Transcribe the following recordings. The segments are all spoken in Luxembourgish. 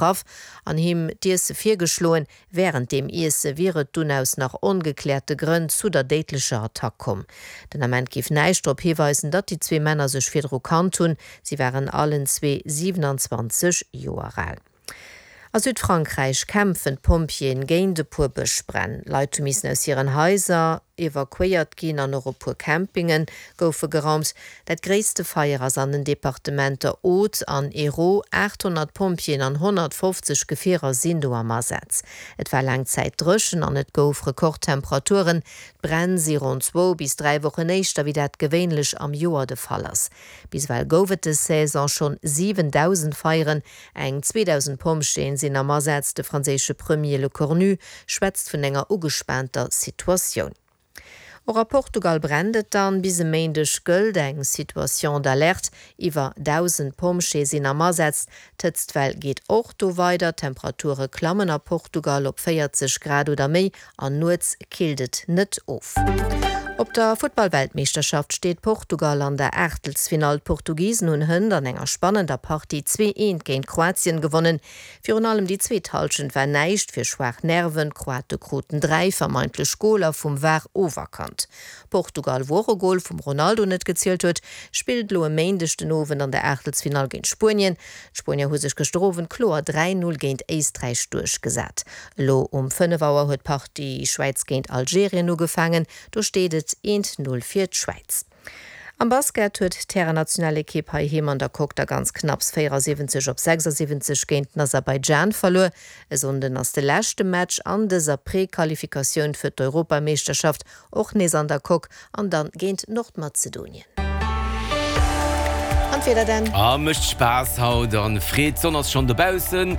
Getraff an him d'Iesse virgeschloen. Wärend deem Iesse wier et dunn aus nach ongekläerte Grënn zu der déidlecher Attack komm. Den Ament géif näischt drop hiweisen, datt déi zwee Männer sech virdru kannt hunn. Si waren allen zwee 27 Joer al. A Südfrankräich kämpfen d'Pompjeeën géint e puer Bëschbränn. Leit hu missen aus hiren Haiser evakuéiert ginn an och e puer Campinge goufe geraumt. Dat gréisste Feier ass an den Departementer Aude an Hérault. 800 Pompjeeën an 150 Gefierer sinn do am Asaz. Et war laang Zäit dréchen an et gouf Rekordtemperaturen. D'Bränn si ronn zwou bis 3 Wochen éischter wéi dat gewéinlech am Joer de Fall ass. Bis ewell gouf et des Saison schonn 7.000 Feieren. Eng 2.000 Pompjeeën sinn am Asaz. De franséische Premier Lecornu schwätzt vun enger ugespaanter Situatioun. Och a Portugal brennt et dann. Bis e Méindeg gëllt eng Situation d'alerte. Iwwer 1.000 Pompjeeë sinn am Asaz. D'Hëtztwell geet och do weider. D'Temperature klammen a Portugal op 40 Grad oder méi an nuets killt et net of. Op der Futtball-Weltmeeschterschaft steet Portugal an der Aachtelsfinall. D'Portugisen hunn hënt an enger spannender Partie 2, 1 géint Kroatien gewonnen. Virun allem déi zweet Hallschent war näischt fir schwaach Nerven. D'Kroate kruten 3 vermeintlech Goler vum var oferkannt. Portugal, wou och e Gol vum Ronaldo net gezielt huet, spillt elo e Méindeg den Owend an der Aachtelsfinall géint Spuenien. D'Spuenier hu sech gëschter Owend kloer 3, 0 géint Éisträich duerchgesat. Elo um 5 Auer huet d'Partie Schwäiz géint Algerien ugefaangen. Do steet et 1, 0 fir d'Schwäiz. Am Basket huet d'Härennationalekipp heiheem an der Coque da ganz knapps 74 op 76 géint den Aserbaidschan verluer. E Sonnden ass de leschte Match an dëser Prequalifikatioun fir d'Europameeschterschaft, och nees an der Coque an dann géint Nordmazedonien. An d'Wieder dann? A mécht Spaass haut an Freed, d'Sonn ass schonn dobaussen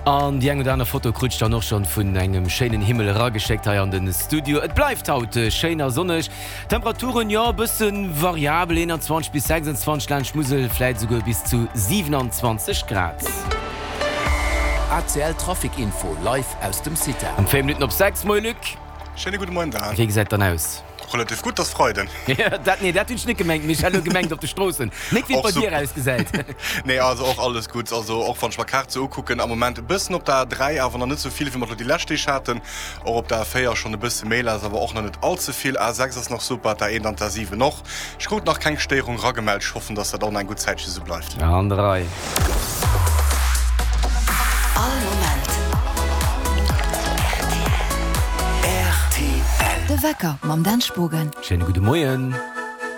an déi eng oder aner Foto krut ech dann och schonn vun engem schéinen Himmel erageschéckt hei an den Studio. Et bleift haut schéin a sonneg. Temperaturen, jo e bëssen variabel, 21 bis 26, laanscht Musel vläit esouguer bis zu 27 Grad. ACL Trafic Info live aus dem CITA. Um 4 Minutten op 6, Moie Luc. Schéine gudde Moien Dan. Wéi gesäit dann aus? Relativ gutt, ass Freiden. Dat, nee, dat hunn ech net gemengt, mee ech hat elo gemengt op de Stroossen, net wéi et bei dir ausgesäit. Nee, also och alles gutt. Also och wann ech mer d'Kaart sou ukucken, am Moment e bëssen op der A3, awer nach net sou vill wéi mer et elo déi lescht Deeg haten. Och op der A4 schonn e bësse méi lass, awer och nach net all ze vill. A6 ass nach super, d'A1 an d'A7 och. Ech krut nach keng Stéierung ragemellt, ech hoffen, dass dat och nach eng gutt Zäitche sou bleift. An der Rei. All Moment rtl. De Wecker mam Dan Spogen. Schéine gudde Moien.